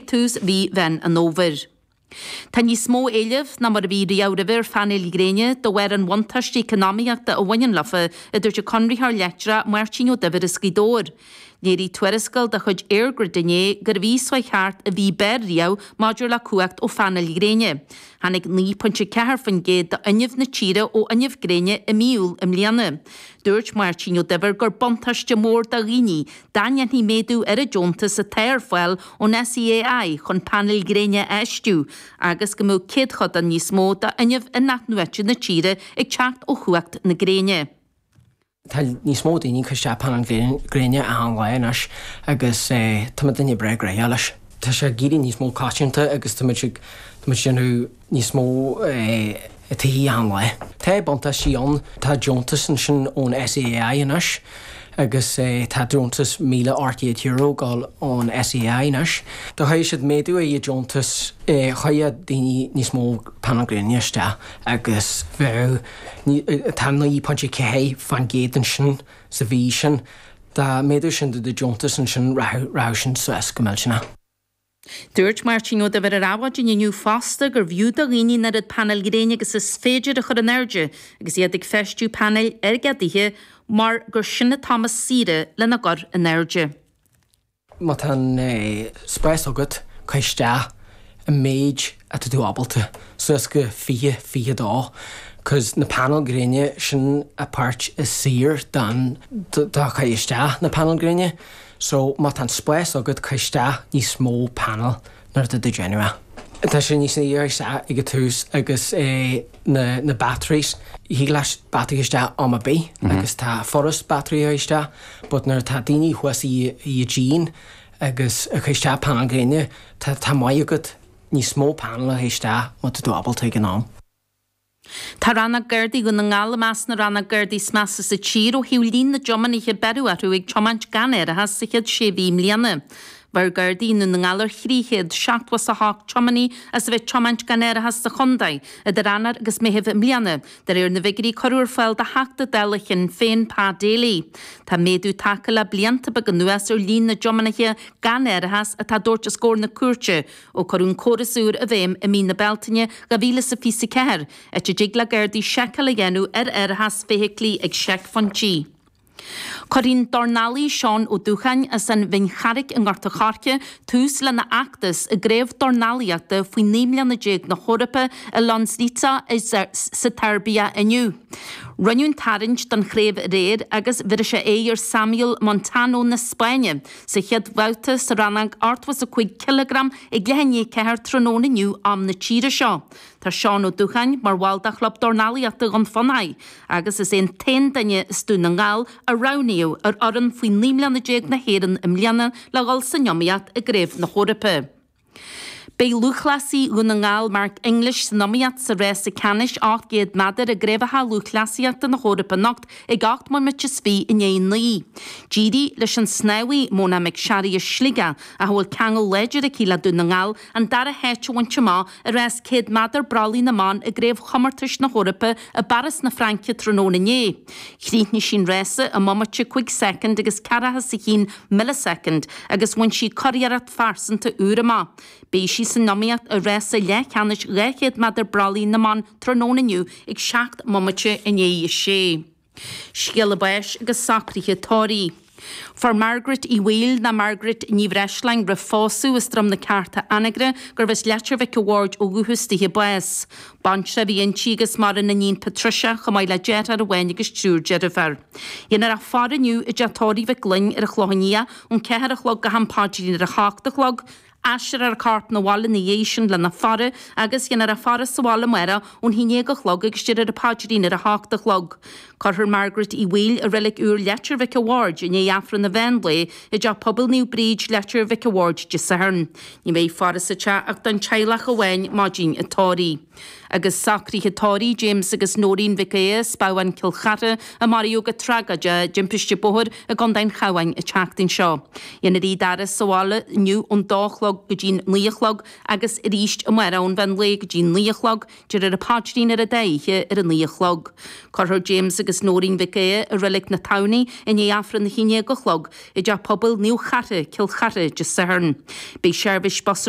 ag tús mhí Mheán an Fhómhair. Tá níos mó éilimh ná mar a bhí riamh roimhe ar phainéil ghréine de bharr an bhuntáiste eacnamaíochta a bhaineann leofa, a dúirt an conraitheoir leictreach Máirtín Ó Duibhir as Gaoth Dobhair. Léirigh tuarascáil de chuid EirGrid inné gurbh í seo thart an mhí b'fhearr riamh maidir le cumhacht ó phainéil ghréine. Tháinig 9.4% d'fhuinneamh na tíre ó fhuinneamh gréine i mí Iúil i mbliana. Dúirt Máirtín Ó Duibhir gur buntáiste mór do dhaoine dá ndéanfaí méadú ar an deontas atá ar fáil ón SEAI chun painéil ghréine a fheistiú agus go mbeadh céadchodán níos mó d'fhuinneamh in-athnuaite na tíre ag teacht ó chumhacht na gréine. Tá níos mó daoine ag cur isteach painéil gréine achan lá anois agus tá muidinne breá gnoitheach leis. Tá sé ag éirí níos mó coitianta agus tá muid ag déanamh níos mó tithe achan lá. Tá buntáistí ann, tá deontas ansin ón SEAI anois agus tá deontas €1,800 ag dul ón SEAI anois. Dá gcuirfeadh siad méadú ar an deontas chuirfeadh daoine níos mó painéil gréine isteach agus bheadh, tá 9.4% ansin sa mhí sin, dá méadódh sin do deontas ansin rachadh sin suas go millteanach. Dúirt Máirtín Ó Duibhir ar Adhmhaidin inniu fosta gurbh fhiú do dhaoine an oiread painéil ghréine agus is féidir a chur in airde agus iad ag feistiú painéil ar a dtithe mar gur sin an t-am is saoire lena gcur in airde. Má tá an spás agat, cuir isteach an méid atá tú ábalta, suas go 20, 22, cos na painéil gréine, sin an páirt is saoire don, do chur isteach na painéil gréine. So má tá an spás agat cuir isteach níos mó panel nuair atá tú ag déanamh é. Tá sé níos saoire isteach ag an tús agus na na batteries, thig leat battery isteach am ar bith agus tá furast battery a chur isteach but nuair atá daoine thuas i i díon agus ag cur isteach panel gréine tá tá maith agat níos mó panel a chur isteach má tá tú ábalta ag an am. Tá Rannóg Gardaí Dhún na nGall i measc na rannóg Gardaí is measa sa tír ó thaobh líon na dtiománaithe a beireadh orthu ag tiomáint gan árachas sa chéad sé mhí i mbliana. Bheir Gardaí i nDún na nGall ar 378 tiománaí as a bheith ag tiomáint gan árachas sa chontae idir Eanáir agus Meitheamh i mbliana, de réir na bhfigiúirí a cuireadh ar fáil do Theachta Dála Shinn Féin Pa Daly. Tá méadú tagtha le blianta beaga anuas ar líon na dtiománaithe gan árachas atá á dtabhairt os comhair na cúirte Ó cuireadh an córas úr i bhfeidhm i mí na Bealtaine 2024, áit a dtig le Gardaí seiceáil a dhéanamh ar árachas feithiclí ag seicphointí. Cuirfidh an dornálaí Seán Ó Dúcháin as an Bhinn Charraic i nGort a' Choirce tús lena fheachtas i gCraobh Dornálaíochta faoi 19 mbliana na hEorpa i Loznica sa tSeirbia inniu. Rinneadh an tarraingt don chraobh aréir agus bhéarfaidh sé aghaidh ar Samuel Montano na Spáinne Sa chéad bhabhta sa rannóg 85 cileagram ag leath i ndiaidh 4 tráthnóna inniu am na tíre seo. Tá Seán Ó Dúcháin mar bhall de Chlub Dornálaíochta Dhún Fionnachaidh agus is é an t-aon duine as Dún na nGall a roghnaíodh ar fhoireann faoi 19 mbliana na hÉireann i mbliana le dhul san iomaíocht i gCraobh na hEorpa. Beidh lúthchleasaí Dhún na nGall Mark English san iomaíocht sa rása ceannais 800 méadar i gCraobhacha Lúthchleasaíochta na hEorpa anocht ag 8 mbomaite is 20 i ndiaidh 9. D'éirigh leis an snámhaí Mona McSharry as Sligeach, ach a bhfuil ceangal láidir aici le Dún na nGall, an dara háit a bhaint amach i rás 100 méadar brollaigh na mban i gCraobhchomórtais na hEorpa i bPáras na Fraince tráthnóna inné. Chríochnaigh sí an rása i mbomaite 5 soicind agus 41 millisecond agus bhain sí curiarracht phearsanta úr amach. Beidh sí san iomaíocht i rása leathcheannais 200 méadar brollaigh na mban tráthnóna inniu ag 7 mbomaite i ndiaidh a sé. Scéala báis agus socruithe tórraimh. Fuair Margaret Uí Bhaoill ná Margaret Ní Bhreisleáin roimh phósadh as Droim na Cearta Anagaire gurbh as Leitir Mhic a' Bhaird ó dhúchas dithe bás. Baintreach a bhí inti agus maireann iníon Patricia chomh maith le deartháir amháin agus triúr deirfiúr. Dhéanfar a faire inniu i dteach tórraimh Mhic Fhloinn ar an Chlochán Liath ón 4 a chlog go ham paidrín ar a hocht a chlog, aistreofar a corp 'na bhaile ina dhiaidh sin lena faire agus dhéanfar a faire sa bhaile amárach ón 11 a chlog agus déarfar an paidrín ar a hocht a chlog. Cuirfear Margaret Uí Bhaoill i Reilig Úr Leitir Mhic a' Bhaird i ndiaidh Aifreann an mheán lae i dTeach Pobail Naomh Bríd, Leitir Mhic a' Bhaird Dé Sathairn. Ní bheidh faire sa teach ach don teaghlach amháin maidin an tórraimh. Agus socruithe tórraimh James agus Nóirín Mhic Aodha as Babhán Cill Chartha a maraíodh go tragóideach i dtimpiste bóthair i gContae an Chabháin an tseachtain seo. Dhéanfar iad a fhaire sa bhaile inniu ón dó a chlog go dtí'n 9 a chlog agus arís amárach ón mheán lae go dtí'n 9 a chlog, déarfar an paidrín ar an dá oíche ar a 9 a chlog. Cuirfear James agus Nóirín Mhic Aodha i Reilig na Tamhnaí i ndiaidh Aifreann a haon déag a chlog i dTeach Pobail Naomh Chartha, Cill Chartha, Dé Sathairn. Beidh seirbhís bus ar.